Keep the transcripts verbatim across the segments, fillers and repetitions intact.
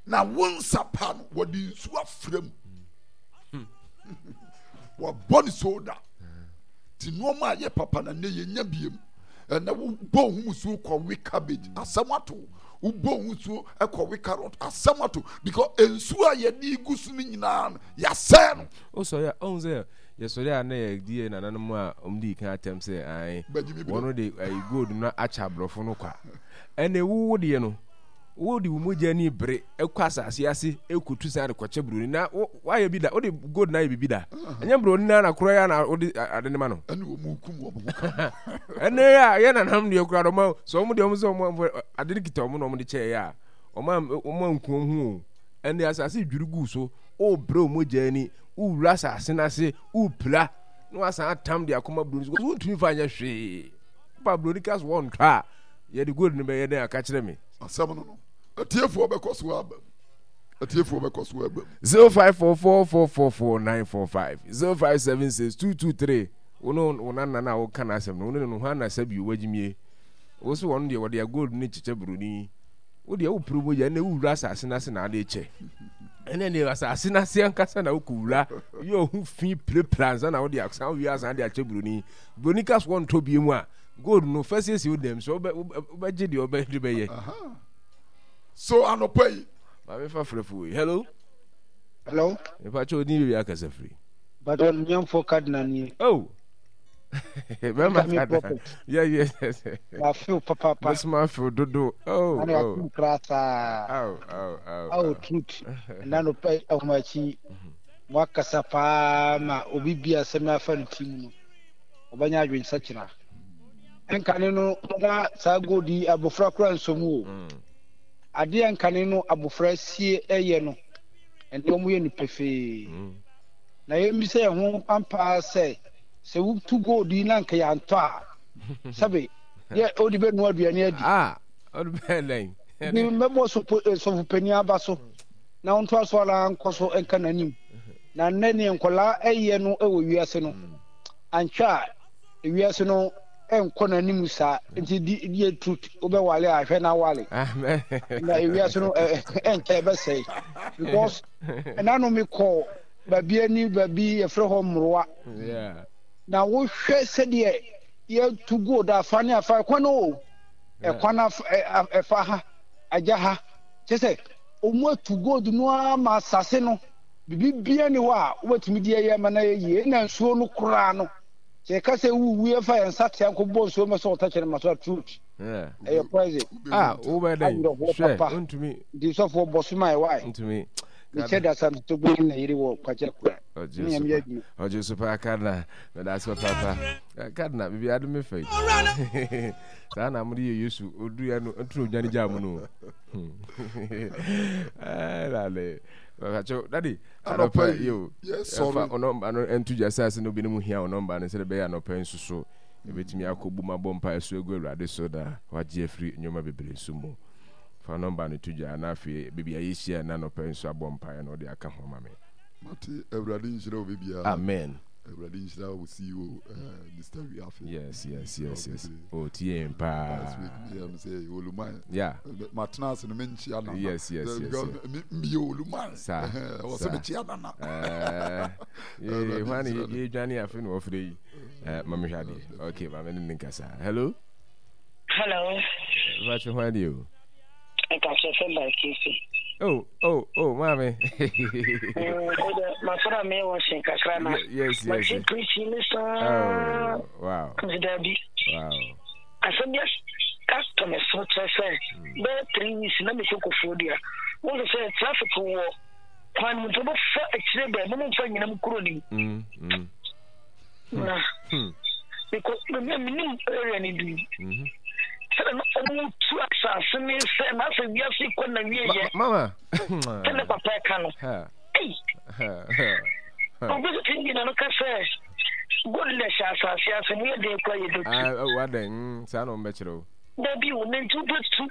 Na wo nsa pa no, wɔde nsuo afra mu. Hmm. Wɔabɔ ne soda. Ti nneɛma a yɛ papa na nnɛ yɛnya biem. Ɛnɛ wobɔ wo ho musuo kɔwe cabbage, asɛm ato. Wobɔ wo ho suo kɔwe carrot, asɛm ato. Because nsuo a yɛde gu so no nyinaa no, yɛasɛe no. Wosɔre a, ɔhu sɛ yɛsɔre a na yɛdi yɛ nananom a wɔn di kan atɛm sɛ ae wɔn de ayi gold no akyɛ aborɔfo no kwa. Ɛnna ewu wo deɛ no, wode wo mogya ni bere kɔ asase ase kotu san de kɔkyɛ buroni na woayɛ bi da, wode gold na ayɛ biribi da. Ɛnyɛ buroni na na korɔ yɛ na wode ade ne ma no. Ɛne wɔn kum wɔn ho ka. Ɛne a yɛ nananom deɛ koraa ɔma sɛ wɔn deɛ wɔn sɛ wɔn ade no kita wɔn na wɔn de kyɛɛ yɛ a wɔn wɔn anku wɔn ho o. Ɛne asase dwiri gu so, wobrɛ wo mogya ani, wowura asase no ase, wopira na wasan atam de akɔma buroni so wontumi fa nyɛ hwee. Pa buroni ka so wɔntɔ a yɛde gold no bɛyɛ dɛn aka kyerɛ me. Asɛm no no, atiefoɔ bɛkɔ so aba mu. Atiefoɔ bɛkɔ so aba mu. Zero five four four four four four nine four five zero five seven six two two three. Wo ne wo nana no a woka n'asɛm no, wo ne no hwan na sɛbi wagyimie? Wo so wɔn deɛ wɔde gold no kyekyɛ buroni. Wo deɛ wopere mogya ɛnna wowura asase no ase na ade kyɛ. Ɛnna deɛ asase no ase ankasa na wokɔwura yɛ ɔho fi pirapira ansa na wode asan wie asan de akyɛ buroni. Buroni ka so wɔntɔ bie mu a gold no fa siesie wo dɛm sɛ wobɛgye deɛ wobɛde bɛyɛ. So anɔpa yi. Maame fa frɛfo yi. Hello. Hello. Mepa kyɛ odin baabi akasa firi. Bàtà onyamfo cardinal nie. Oh. Bɛma cardinal. Yeah, yes, yes. Wafew papaapa. Mesoma afew dodo. Oh, oh. Ana kura saa. Oh, oh, oh. Oh, truth. Ɛna no pɛ ahomakyi. Mo akasa paa ma obi bi asɛm afa ne ti mu no. Ɔbɛnya adwensakyera. Nkane no na saa gold yi abofra kora nsɔ mu o. Mm. Adeɛ nkane no abofra sie ɛyɛ no, ɛnɛ wɔn yɛ no pefee. Mm. Na yɛmmisa yɛn ho ampaa sɛ sɛ wotu gold yi na nka yɛantɔ a, sɛbe yɛ wode bɛnoa aduane adi. Ah, ɔde bɛyɛ dɛn? Nti mɛbɔ sɔfo panin aba so na ɔntoa so ara nkɔ so nka n'anim. Na nnɛ neɛ nkwadaa ɛyɛ no wɔ wiase no, mm. anhwɛ a wiase no nkɔ n'anim saa nti di yɛ truth wobɛwale a hwɛ na wale na wiase no ɛnkyɛ ɛbɛsɛe because ɛna no mekɔ baabi ani baabi yɛfrɛ hɔ mmorowa na wohwɛ sɛdeɛ yɛtu gold afa ne afa ɛkwan no o ɛkwan ɛfa ha agya ha kyɛ sɛ wɔn atu gold no ara ma asase no biribi biara ni hɔ a wobɛtumi de ayɛ ama no ayɛ yie na nsuo no koraa no sɛ yɛka sɛ wuwu yɛmfa yɛn nsa tea nkɔbɔ nsuo mɛ sɛ ɔtɛkyɛ no ma so a truth ɛyɛ poison ah wobɛ dɛn awerɛhoɔ papa nti sɔfoɔ bɔ so ma ɛwae ntumi mekyɛ da sa to gbɛn na yere wɔ kwakyɛ kora ne nyame yɛ adwuma ɔgye so paa cardinal meda ase papaapa cardinal biribi ade me fa yi saa na mode yɛ Yesu ɔduruiɛ no nto na odwane gyaa mu no lale bàtò dadi anɔpa yi o ɛfa ɔnɔmba no nto gya sɛ ase na obi ne mu hia ɔnɔmba no sɛdeɛ ɛbɛyɛ anɔpa yi nso so ebetumi akɔ bu ma bɔ mpa ɛso egu Awurade so na wagye afiri nneɛma bebree nso mu. Fa nɔmba no to gya na afei baabi a yɛhyia na anɔpa yi nso abɔ mpaeɛ na ɔde aka ho ama me. Mate. Awurade nhyira obi biara. Amen. Awurade nhyira wo C E O, uh, eh, Mister Wiafe. Yes, yes, yes, yes. Oh, tie yɛn paa. Last week me am say Oluman. Yeah. Matena ase no menkyia nana. Yes, yes, yes. Because me me Oluman. Sa. Wɔ sɛ mekyia nana. Eh. Ye, hwan ye dwane afe no wɔfrɛ yi. Eh, ma mehwɛ adeɛ. Okay, ma me ne ne nkasa. Hello. Hello. Vache hwan deɛ o? Nkakyɛ sɛ by Casey. Oh, oh, oh, maame. Masɔrɔ a meyɛ washing kakra na. Yes, yes. Mate preaching ne saa. Oh, wow. Nti daabi. Wow. Asɛm bi atɔ me so kyerɛ sɛ hmm. bɛyɛ three weeks na mekɔ Kofoɔ Dua. Wo sɛ sɛ traffic wɔ kwan mu nti wobɛfa akyire bɛɛ mo mfa nyinam kuro nim. Mm, mm. Na hmm. mekɔ menim area no bi. Mm-hmm. Sɛdeɛ na ɔmo tu asase ne sɛ na asɛ wiase kɔ na wie yɛ. Mama. Sɛ ne papa ɛka no. Ei. Obi so ti bi na no ka sɛ gold na ɛhyɛ asase ase no yɛ den kura yɛ bɛtu. Ah, wadɛn mm, saa na ɔmbɛkyerɛ wo. Dabi wo ne nti wobɛtu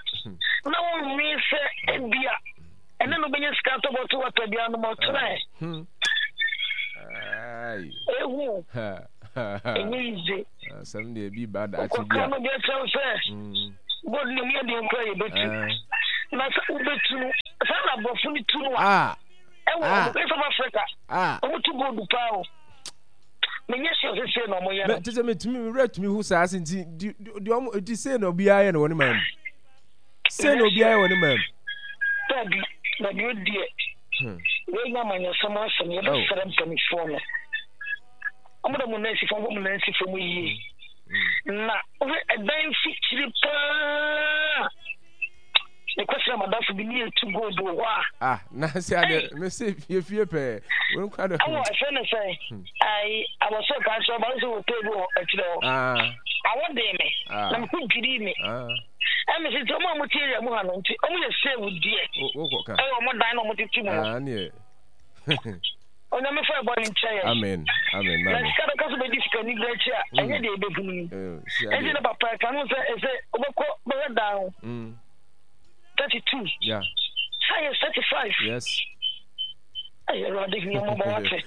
na wonwe sɛ ebia ɛne no bɛnya sika atɔ bɔto wata bi anom ɔkyerɛ. Hmm. Ehu. Ɛnyɛ yize. Asɛm deɛ bi ba daakye bi a. Wokɔka no deɛ kyerɛ sɛ mm. gold no mu yɛ den kura yɛ bɛtu. Ah. Na sɛ wobɛtu no Saa na aborɔfo no tu no a. Ah. Ɛwɔ Ah. ɔmo South Africa. Ah. Ɔmo tu gold paa o. Menyɛ sure sɛ sei na ɔmo yɛ no. Te sɛ metumi me werɛ tumi ho saa se nti di di ɔmo nti sei na obiara yɛ no wɔ ne man mu. Sei na obiara yɛ wɔ ne man mu. Dabi, dabi o deɛ. Hmm. Wei nyɛ amanyɔsɛm asɛm yɛbɛsrɛ mpanimfoɔ no. Ɔmo de mo nan si fam, ɔmo nan si fam yie. Hmm. Na wohwɛ ɛdan mfikyiri paa. Mekɔsra madamfo bi ne yɛtu gold wɔ hɔ a. Ah, na sɛ adeɛ mese fie fie pɛɛ. Wei nkwa dɛ. Ɛwɔ ɛfɛ ne sɛ ayi abɔsɔ kan so ɔba nso wɔ tee bi wɔ akyire hɔ. Ah. Awɔ dee me. Ah. Na me ho dwirii me. Ah. Ɛmi sɛ nti ɔmo a ɔmo te area mu ha no nti ɔmo yɛ save deɛ. Wokɔ ka. Ɛwɔ ɔmo dan na ɔmo tete mu no. Ah, neɛ. Onyame fa ɛbɔ ne nkyɛ yɛn. Amen. Amen. Na sika bɛka so bɛdi sika ni berɛ akyi a ɛnyɛ deɛ ɛbɛhunu yi. Ɛnti na papa ɛka no sɛ ɛsɛ wobɛkɔ bɛhwɛ dan ho. Thirty two. Yeah. Sɛ yɛ thirty five. Yes. Ɛyɛ Awurade hu yɛn mmɔbɔ wate.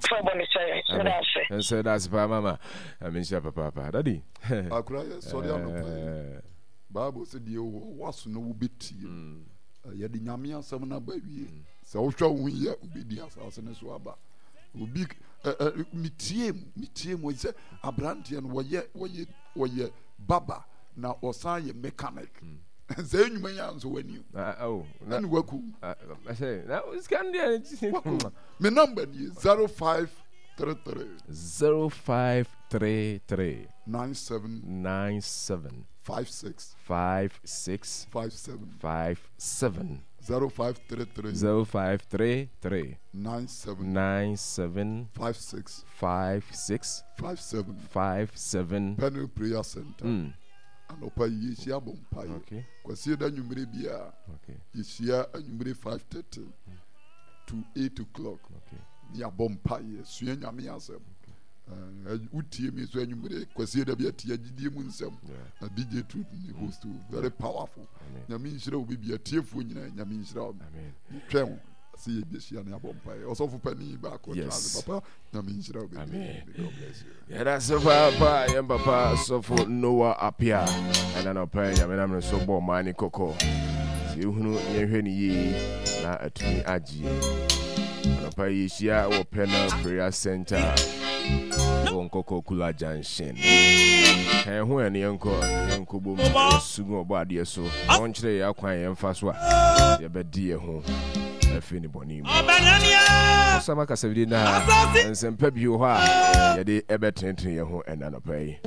Fa ɛbɔ ne kyɛ yɛn. Meda ase. Ɛnsɛ da ase paa mama. Ame nhyira papaapa. Daddy. Akora yɛ sɔre anɔpa yi. Bible sɛ deɛ wɔ waso no wobɛtie. Yɛde Nyame asɛm no aba wie. Sɛ wohwɛ wo ho yie a, wobɛdi asase no so aba. Obi ɛ ɛ metie mu, metie mu sɛ aberanteɛ no wɔyɛ wɔyɛ wɔyɛ baba na ɔsan yɛ mechanic. Hmm. Sɛ nnwuma yi ansɔ w'ani o. Ah, oh, ɛne waku. Sika no deɛ. Waku. Me number nie zero five three three. Zero five three three. Nine seven. Nine seven. Five six. Five six. Five seven. Five seven. Zero five three three. Zero five three three. Nine seven. Nine seven. Five six. Five six. Five seven. Five seven. Pernel Prayer Center. Mm. Anɔpa yi yɛhyia bɔ mpaeɛ. Okay. Kwasie da anwummere biara. Okay. Yɛhyia anwummere five thirty mm. to eight o'clock. Okay. Ne yɛabɔ mpaeɛ sua Nyame asɛm. Okay. Wotie mi nso anwummere kwasie da bi atie agyidie mu nsɛm na D J Truth ne host very powerful. Nyame nhyira wo bibia tiefoɔ nyinaa Nyame nhyira wo. Twɛn wo sɛ yɛbɛhyia ne abɔ mpaeɛ. Ɔsɔfo panin baako tena ase papa Nyame nhyira wo bebree. God bless you. Yɛda ase paapa yɛn papa sɔfo Noah Apia ɛna nɔpɛ Nyame nam ne so bɔ ɔman ne kɔkɔ sɛ yɛhunu yɛnhwɛ ne yie na atumi agye anɔpa yi yɛhyia wɔ Pernel Prayer Center wɔ Nkɔkɔ Kula Junction. Ka yɛn ho ɛne yɛnkɔ yɛnkɔ bom yɛsu gu ɔbɔ adeɛ so na ɔnkyerɛ yɛn akwan yɛmfa so a yɛbɛdi yɛn ho afiri ne bɔne mu. Ɔsama kasafidie na nsɛmpa bi wɔ hɔ a yɛde ɛbɛtenetene yɛn ho ɛna anɔpa yi.